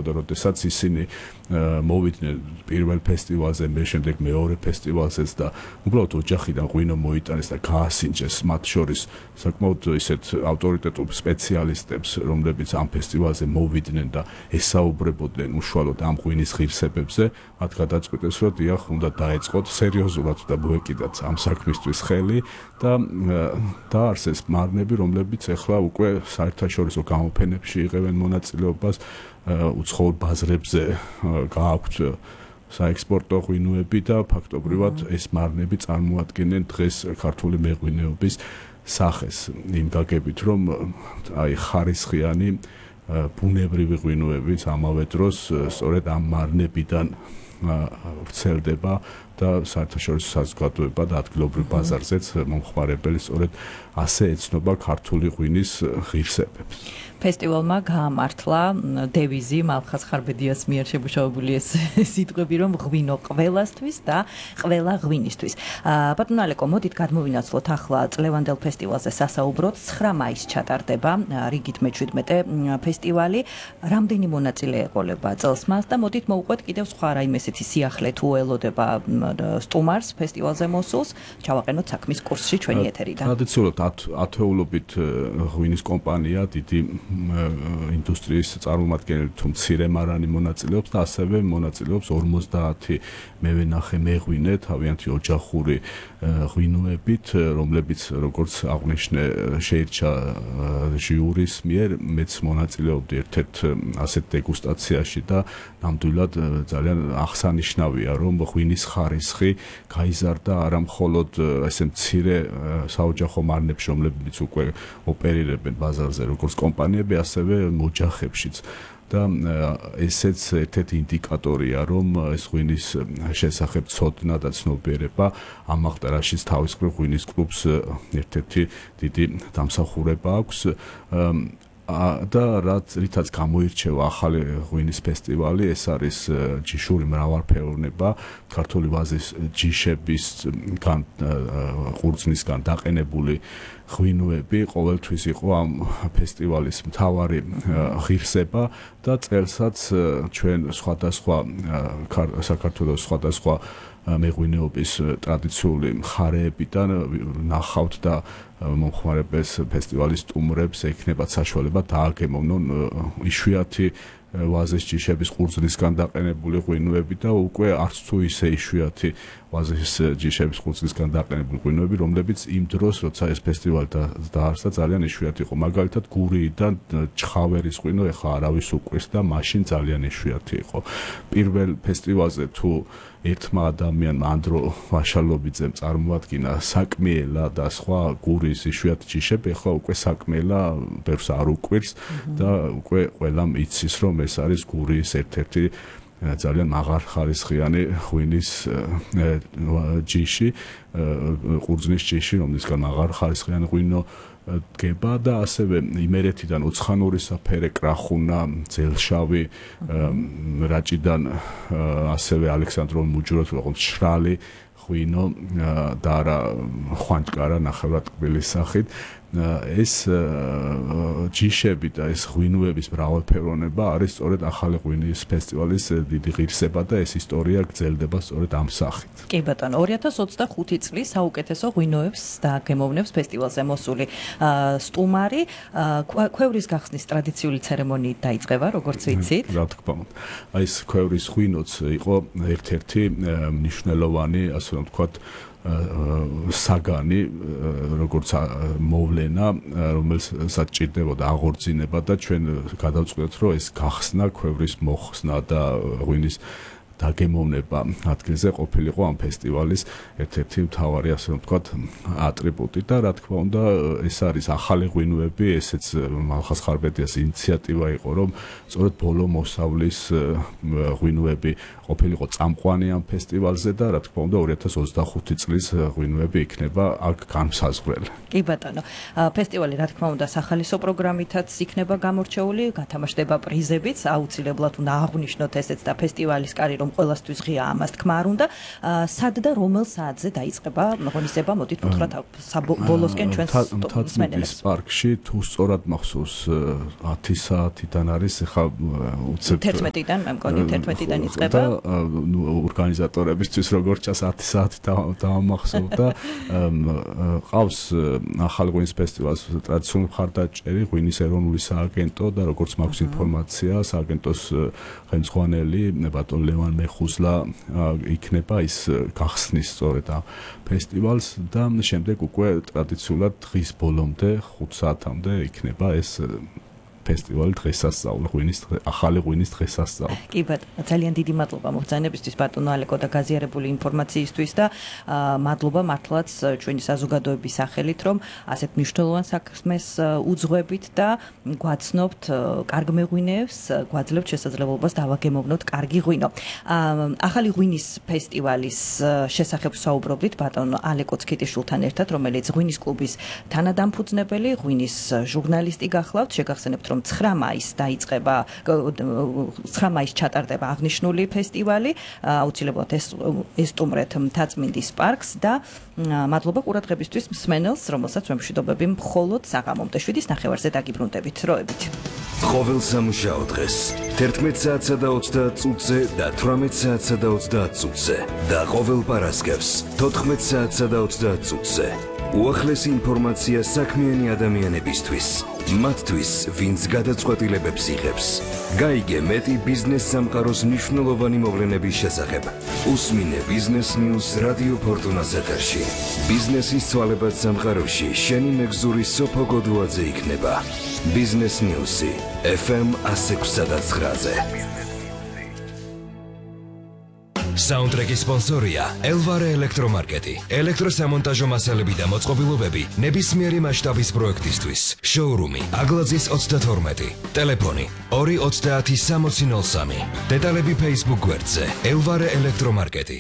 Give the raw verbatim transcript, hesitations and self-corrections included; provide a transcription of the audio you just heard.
ხდებოდა, როდესაც ისინი მოვიდნენ პირველ ფესტივალზე, მე შემდეგ მეორე ფესტივალზეც და უბრალოდ ოჯახიდან ღვინო მოიტანეს და გაასინჯეს მათ შორის საკმაოდ ისეთ ავტორიტეტულ სპეციალისტებს, რომლებიც ამ ფესტივალზე მოვიდნენ და ესაუბრებოდნენ უშუალოდ ამ ღვინის ღირსებებზე, მათ გადაწყვიტეს, რომ დიახ, უნდა დაეწყოთ სერიოზულად და მოეკიდათ ამ საქმისთვის ხელი და დაარსეს მარნები, რომლებიც ახლა უკვე საერთაშორისო გამოფენებში იღებენ მონაწილეობას, უცხოურ ბაზრებზე გააქვთ საექსპორტო ღვინოები და ფაქტობრივად ეს მარნები წარმოადგენენ დღეს ქართული მეღვინეობის სახეს, იმ გაგებით, რომ აი ხარისხიანი ბუნებრივი ღვინოებიც ამავე დროს სწორედ ამ მარნებიდან ვრცელდება და საერთაშორისო საზოგადოება და ადგილობრივ ბაზარზეც მომხმარებელი სწორედ ასე ეცნობა ქართული ღვინის ღირსებებს. ფესტივალმა გაამართლა დევიზი მალხაზ ხარბედიას მიერ შემუშავებული ეს სიტყვები, რომ ღვინო ყველასთვის და ყველა ღვინისთვის. ბატონო ალეკო, მოდით გადმოვინაცვლოთ ახლა წლევანდელ ფესტივალზე სასაუბროთ. ცხრა მაისს ჩატარდება რიგით მეჩვიდმეტე ფესტივალი. რამდენი მონაწილე ეყოლება წელს მას და მოდით მოვუყვეთ კიდევ სხვა რაიმე ესეთი სიახლე თუ ელოდება სტუმარს ფესტივალზე მოსულს. ჩავაყენოთ საქმის კურსში ჩვენი ეთერიდან. ტრადიციულად ათეულობით ღვინის კომპანია დიდი ინდუსტრიის წარმომადგენელი თუ მცირე მარანი მონაწილეობს და ასევე მონაწილეობს ორმოცდაათი მევენახე მეღვინე თავიანთი ოჯახური ღვინოებით, რომლებიც როგორც აღნიშნე შეირჩა ჟიურის მიერ, მეც მონაწილეობდი ერთ-ერთ ასეთ დეგუსტაციაში და ნამდვილად ძალიან აღსანიშნავია, რომ ღვინის ხარისხი გაიზარდა არა მხოლოდ ესე მცირე საოჯახო მარნებში, რომლებიც უკვე ოპერირებენ ბაზარზე როგორც კომპანიები, ასევე ოჯახებშიც. და ესეც ერთ-ერთი ინდიკატორია, რომ ეს ღვინის შესახებ ცოდნა და ცნობიერება ამაღდარაშიც თავის მხრივ ღვინის კლუბს ერთ-ერთი დიდი დამსახურება აქვს. და რაც რითაც გამოირჩევა ახალი ღვინის ფესტივალი, ეს არის ჯიშური მრავალფეროვნება, ქართული ვაზის ჯიშების ყურძნისგან დაყენებული ღვინოები ყოველთვის იყო ამ ფესტივალის მთავარი ღირსება და წელსაც ჩვენ სხვადასხვა საქართველოს სხვადასხვა მეღვინეობის ტრადიციული მხარეებიდან ნახავთ და მომხმარებელს ფესტივალის სტუმრებს ექნებათ საშუალება დააგემოვნონ იშვიათი ვაზის ჯიშების ყურძნისგან დაყენებული ღვინოები და უკვე არც თუ ისე იშვიათი ვაზის ჯიშების ყურძნისგან დაყენებული ღვინოები, რომლებიც იმ დროს, როცა ეს ფესტივალი დაარსდა, ძალიან იშვიათი იყო. მაგალითად, გურიიდან ჩხავერის ღვინო ეხლა არავის უკვირს და მაშინ ძალიან იშვიათი იყო. პირველ ფესტივალზე თუ ერთმა ადამიანმა ანდრო ვაშალობიძემ წარმოადგინა საკმიელა და სხვა გურის იშვიათი ჯიშები, ეხლა უკვე საკმიელა ბევრს არ უკვირს და უკვე ყველამ იცის, რომ ეს არის გურის ერთ-ერთი ძალიან მაღალხარისხიანი ღვინის ჯიში, ყურძნის ჯიში, რომლისგან მაღალხარისხიანი ღვინო დგება და ასევე იმერეთიდან უცხანური საფერე კრახუნა, ძელშავი, რაჭიდან ასევე ალექსანდროვი მუჯუროთ, როგორც შრალი ღვინო და არა ხვანჭკარა ნახევრად კბილის სახით. ეს ჯიშები და ეს ღვინოების მრავალფეროვნება არის სწორედ ახალი ღვინის ფესტივალის დიდი ღირსება და ეს ისტორია გრძელდება სწორედ ამ სახით. კი ბატონო, ორი ათას ოცდახუთი წლის საუკეთესო ღვინოებს დაგემოვნებს ფესტივალზე მოსული სტუმარი, ქვევრის გახსნის ტრადიციული ცერემონიით დაიწყება, როგორც ვიცით. რა თქმა უნდა. აი ეს ქვევრის ღვინოც იყო ერთ-ერთი მნიშვნელოვანი, ასე რომ ვთქვათ, საგანი, როგორც მოვლენა, რომელსაც ჭირდებოდა აღორძინება და ჩვენ გადავწყვეტთ, რომ ეს გახსნა, ქვევრის მოხსნა და ღვინის დაგემოვნება ადგილზე ყოფილიყო ამ ფესტივალის ერთ-ერთი მთავარი, ასე რომ ვთქვათ, ატრიბუტი და რა თქმა უნდა, ეს არის ახალი ღვინოები, ესეც მალხაზ ხარბედიას ინიციატივა იყო, რომ სწორედ ბოლო მოსავლის ღვინოები ყოფილიყო წამყვანი ამ ფესტივალზე და რა თქმა უნდა, ორი ათას ოცდახუთი წლის ღვინოები იქნება აქ განმსაზღვრელი. კი ბატონო, ფესტივალი რა თქმა უნდა სახალისო პროგრამითაც იქნება გამორჩეული, გათამაშდება პრიზებიც, აუცილებლად უნდა აღვნიშნოთ ესეც და ფესტივალის კარი რომ ყველასთვის ღია ამას თქმა არ უნდა. სად და რომელ საათზე დაიწყება ღონისება? მოდით ვუთხრათ საბოლოსკენ ჩვენს თაცმეტის პარკში თუ სწორად მახსოვს ათი საათიდან არის ხა უცებ თერთმეტიდან მე მგონი თერთმეტიდან იწყება და ნუ ორგანიზატორებისთვის როგორც ჩას ათი საათი დაამახსოვ და ყავს ახალ ღვინის ფესტივალს ტრადიციული მხარდაჭერი ღვინის ეროვნული სააგენტო და როგორც მაქვს ინფორმაცია სააგენტოს ხელმძღვანელი ბატონ ლევან მეხუზლა იქნება ის გახსნის სწორედ ამ ფესტივალს და შემდეგ უკვე ტრადიციულად დღის ბოლომდე ხუთ საათამდე იქნება ეს ფესტივალი დღესასწაული ღვინის ახალი ღვინის დღესასწაული. კი ბატონო, ძალიან დიდი მადლობა მოგზაინებისთვის ბატონო ალეკო და გაზიარებული ინფორმაციისთვის და მადლობა მართლაც ჩვენი საზოგადოების სახელით, რომ ასეთ მნიშვნელოვან საქმეს უძღვებით და გვაცნობთ კარგ მეღვინეებს, გვაძლევთ შესაძლებლობას დავაგემოვნოთ კარგი ღვინო. ახალი ღვინის ფესტივალის შესახებ საუბრობდით ბატონო ალეკო ცქიტიშვილთან ერთად, რომელიც ღვინის კლუბის თანადამფუძნებელი, ღვინის ჟურნალისტი გახლავთ, შეგახსენებთ რომ ცხრა მაისს დაიწყება ცხრა მაისს ჩატარდება აღნიშნული ფესტივალი აუცილებლად ესტუმრეთ მთაწმინდის პარკს და მადლობა ყურადღებისთვის მსმენელს რომელსაც ვემშვიდობები მხოლოდ საღამომდე შვიდის ნახევარზე დაგიბრუნდებით დროებით ყოველ სამუშაო დღეს თერთმეტ საათსა და ოცდაათ წუთზე და თვრამეტ საათსა და ოცდაათ წუთზე და ყოველ პარასკევს თოთხმეტ საათსა და ოცდაათ წუთზე უახლესი ინფორმაცია საქმიანი ადამიანებისთვის მათთვის, ვინც გადაწყვეტილებებს იღებს. გაიგე მეტი ბიზნეს სამყაროს მნიშვნელოვანი მოვლენების შესახებ. უსმინე ბიზნეს ნიუს რადიო ფორტუნას ეთერში. ბიზნესის ცვალებად სამყაროში შენი მეგზური სოფო გოდუაძე იქნება. ბიზნეს ნიუსი ეფ ემ ათი ექვსი და ცხრაზე. საუნდტრეკის სპონსორია ელვარე ელექტრომარკეტი. ელექტროსამონტაჟო მასალები და მოწყობილობები ნებისმიერი მასშტაბის პროექტისთვის. შოურუმი აგლაძის ოცდათორმეტი. ტელეფონი ორი ოცდაათი სამოცი ნოლ სამი. დეტალები Facebook გვერდზე ელვარე ელექტრომარკეტი.